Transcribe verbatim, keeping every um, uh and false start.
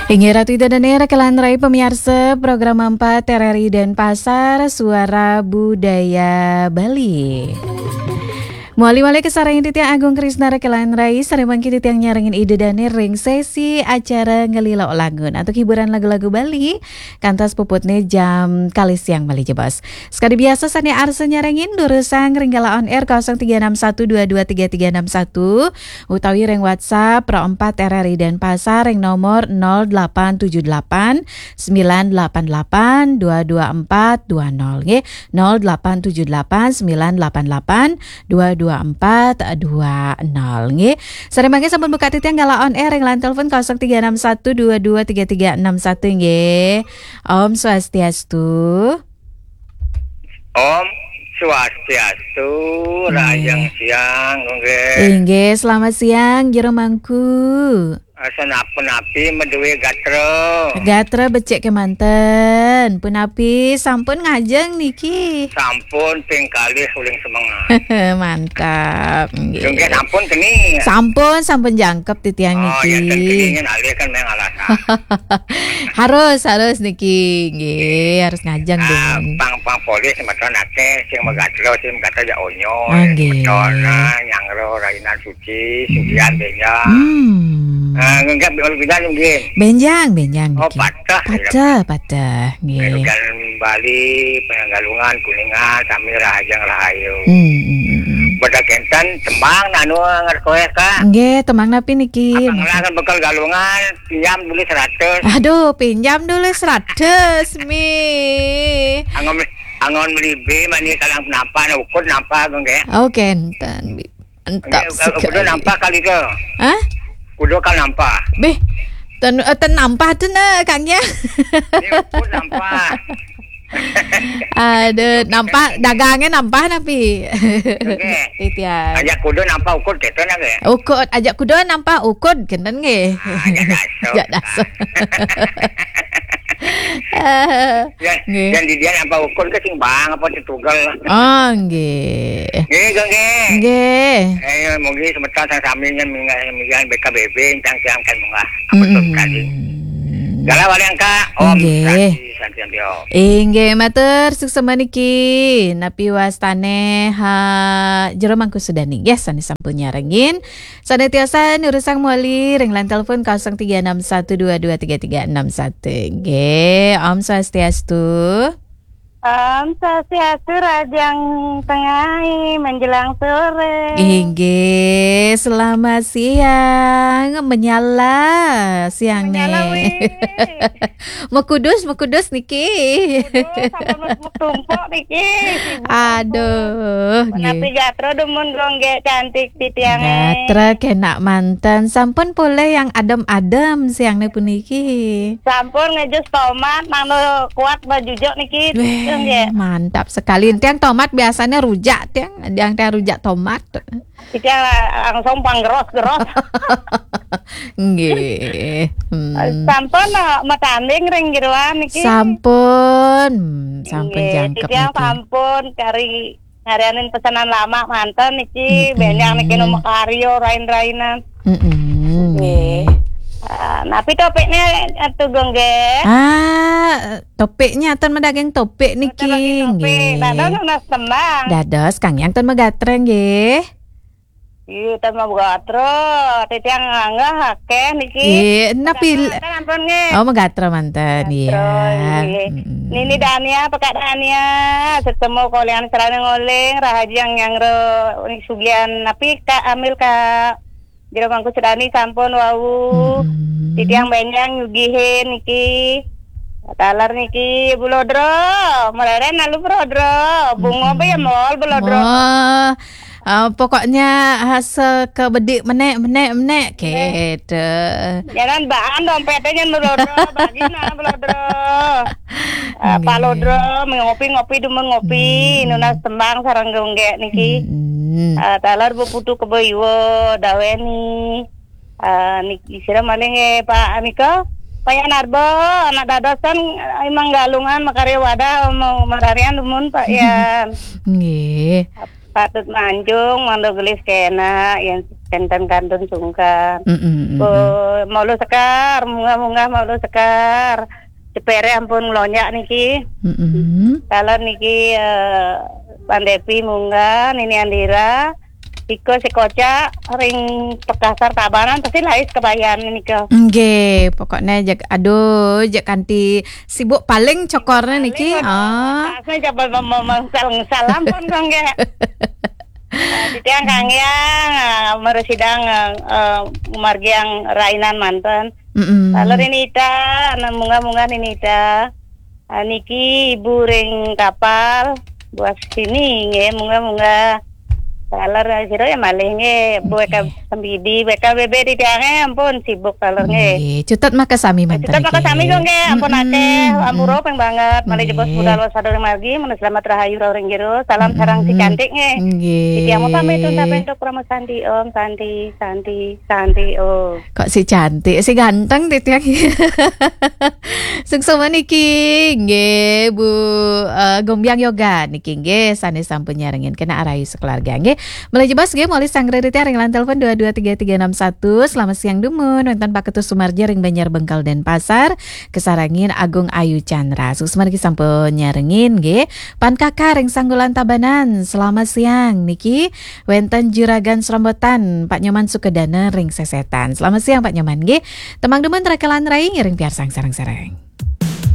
Inggih Ratu Ida Dane rekelan rai pemiarsa program empat R R I Denpasar, Suara Budaya Bali. Mawali-mawali kasarengin titiang Agung Krisna rekelan rai, sareng mangkin titiang nyarengin Ida Dane ring sesi acara Ngelilok Langun antuk hiburan lagu-lagu Bali, kantos puputne jam kalih siang malih jebos. Sekadi biasa sane arsa nyarengin durusang ring galah on air kosong tiga enam satu dua dua tiga tiga enam satu utawi ring WhatsApp Pro empat R R I Denpasar ring nomor nol delapan tujuh delapan sembilan delapan delapan dua dua empat dua nol nggih. Nol delapan tujuh delapan sembilan delapan delapan dua dua empat dua nol nggih. Sareng mangkin sampun buka titiang galah on air ring line telepon kosong tiga enam satu dua dua tiga tiga enam satu nggih. Om Swastiastu. Om Swastiastu, Nggih. Rahajeng siang, nggih. Inggih, selamat siang, Jero Mangku. Asa napi-napi madué gatra. Gatra becik kemanten. Punapi sampun ngajeng niki? Sampun ping kalih uling semengan. Mantap, nggih. Nggih, sampun keni. Sampun, sampun jangkep titiang Oh, niki. Ya, ten keni nyen alih kan meh alasan. Harus, harus niki, nggih, harus ngajeng Ah, dengan pang, pang polih semeton akeh, sing magatra, sing magatra ya onyo, Ah, nggih. Semeton, ah, nyangro, rainan suci, sugihan, benjang. Hmm. Ah, nggih, nggih, nggih. Benjang, benjang Oh, niki. Pateh, ya. Pateh, pateh, nggih. Kelugan Bali, Penanggalungan, Kuningan, sami rahajeng rahayu. Hmm, hmm, hmm, hmm. Beda kenten, tembang, nanu, ngerti kowe, Kak? Nggih, tembang napi niki? Abang lah kan bekal galungan, pinjam dulu seratus. Aduh, pinjam dulu seratus, Mi. Angon, angon beli B, mani kalang nampak, ukur nampak, nggih. Oh, kenten, Mi. Entap Nggih, sekali. Kudu nampak kali ke? Hah? Kudu kal nampak. Beh, ten, eh, ten nampak tu na, Kang, ya. Ini ukur nampak. Aduh, nampak, dagangnya nampak napi? Nggih. Titiang. Aja kudu nampak ukur, kenten, nggih. Ukur, aja kudu nampak ukur, kenten, nggih. Ah, aja daso. Aja daso. Eh, Ya, nggih. Dan di dia nampak ukur ke sing bang apa sing tugel. Oh, nggih. Nggih, nggih, nggih. Nggih. Eh, mungkin semeton sami-sami nyen minggan, minggan B K B B, cang-cang kan munggah. Apa Mm-mm. Sekali. Galah wali angka, Om Nggih. Santi, Santi, Santi, Om. Inggih, matur suksma niki. Napi wastane, ha, Jero Mangku Sudani. Yes, sane sampun nyarengin. Sane tiasa nurusang mawali ring line telepon kosong tiga enam satu dua dua tiga tiga enam satu. Nggih, Om Swastiastu. Om Swastiastu, rahajeng tengai menjelang sore. Inggih, selamat siang. Menyala siang Menyala, ne. Wih. Mekudus, mekudus niki. Aduh, sampun wis metumpuk niki. Sibuk. Aduh, nggih. Menapi gatra dumun gonggek cantik titiange. Gatra kenak manten. Sampun polih yang adem-adem siangne puniki. Sampun ngejus tomat, mangda kuat bajujuk niki. Weh, nggih. Mantap sekali. Tiang tomat biasanya rujak, tiang, tiang, tiang rujak tomat. Iki langsung panggeros-geros. Nggih. Hmm. Sampun, eh, matanding ring jeroan niki. Sampun. Sampun Nggih, jangkep titiang niki. Sampun kari ngarianin pesanan lama manten niki, Mm-mm. Benjang niki nu makarya rain-rainan. Mm-mm. Nggih. Ah, napi topiknya, eh, Tugong, nggih? Ah, topiknya ten madaging topik niki, madaging topik. Nggih. Dados nunas tembang. Dados, Kang Yang ten magatra, nggih. Iya, ten magatra. Titiang nganggah akeh niki. Nggih, napi Magatra kan ampun, nggih. Oh, magatra manten, Magatra, iya. Nggih. Mm-mm. Nini Dania, Pekak Dania, setemu kolian serana ngoling, rahajeng nyangro sugian napi, Kak Amil, Kak. Jero Mangku Sudani sampun wau. Mm-mm. Titiang Benjang nyugihin niki. Taler niki, Bu Lodro. Mereren lalu, Bu Lodro. Bunga apa ya, mm-mm, mall, Bu Lodro? Wah, ah, pokoknya hasil ke bedik menek, menek, menek. Menek. Gitu. Jangan baan dompetnya jangan, Bu Lodro. Bagi nah, Bu Lodro. Ah, Pak Nggih. Lodro, ngopi-ngopi, demen ngopi. Hmm. Nunas tembang sareng gonggek niki. Hmm. Ah, taler Bu Putu Kebo Iwa, Daweni. Ah, niki sira malih nggih, Pak, nika, Pak Yan Arba, anak dados kan, eh, imang galungan makarya wadah, mau mararian dumun, Pak Yan. Nggih. Patut manjung, mangda gelis kena, Yan. Kenten kantun sungkan. Mm-mm, mm-mm. Oh, malu sekar, munggah-munggah malu sekar. Cepere ampun ngelonjak niki. Mm-mm. Taler niki, eh, Pandepi munggah, Nini Andira. Iko sekocak ring Pekasar Tabanan pasti lais kebayan nika. Nggih, pokoknya jek, aduh, jek kanti sibuk paling cokornya niki. Paling, ah. Tasnya coba mem-, mem-, mengsal-ngesal ampun kok nggih. Nah, titiang kanggiang, ah, meresidang, ah, eh, margiang rainan manten. Mm-mm. Taler Nini Ita, anak munggah-munggah Nini Ita. Ah, niki ibu ring kapal, buas sini nggih, munggah-munggah. Taler sira ya malih nggih, Bu Eka Sembidi, B K B B titiange ampun sibuk taler nggih. Nggih, cutet makasami manten. Cutet makasami kok nggih, ampun akeh, ampura ping banget. Malih jebos budal waspada ring margi, menawi selamat rahayu rauh ring jero. Salam sareng si cantik nggih. Nggih. Titiang mau pamit untuk Rama Santi Om, Santi, Santi, Santi Om. Kok si cantik, si ganteng titiang. Suksma niki nggih Bu, eh, Gombiang Yoga niki nggih sane sampun nyarengin kena arayu sekeluarga nggih. Malih jebos nggih, malih sanggra titiang ring line telepon dua dua tiga tiga enam satu. Selamat siang dumun. Wenten Pak Ketut Sumarja ring Banjar Bengkel Denpasar, kesarengin Agung Ayu Chandra. Suksma niki sampun nyarengin nggih. Pan Kakak ring Sanggulan Tabanan. Selamat siang niki. Wenten Juragan Serombotan, Pak Nyoman Sukedana ring Sesetan. Selamat siang Pak Nyoman nggih. Tembang dumun Trekelan Rai ngiring piarsang sareng-sareng.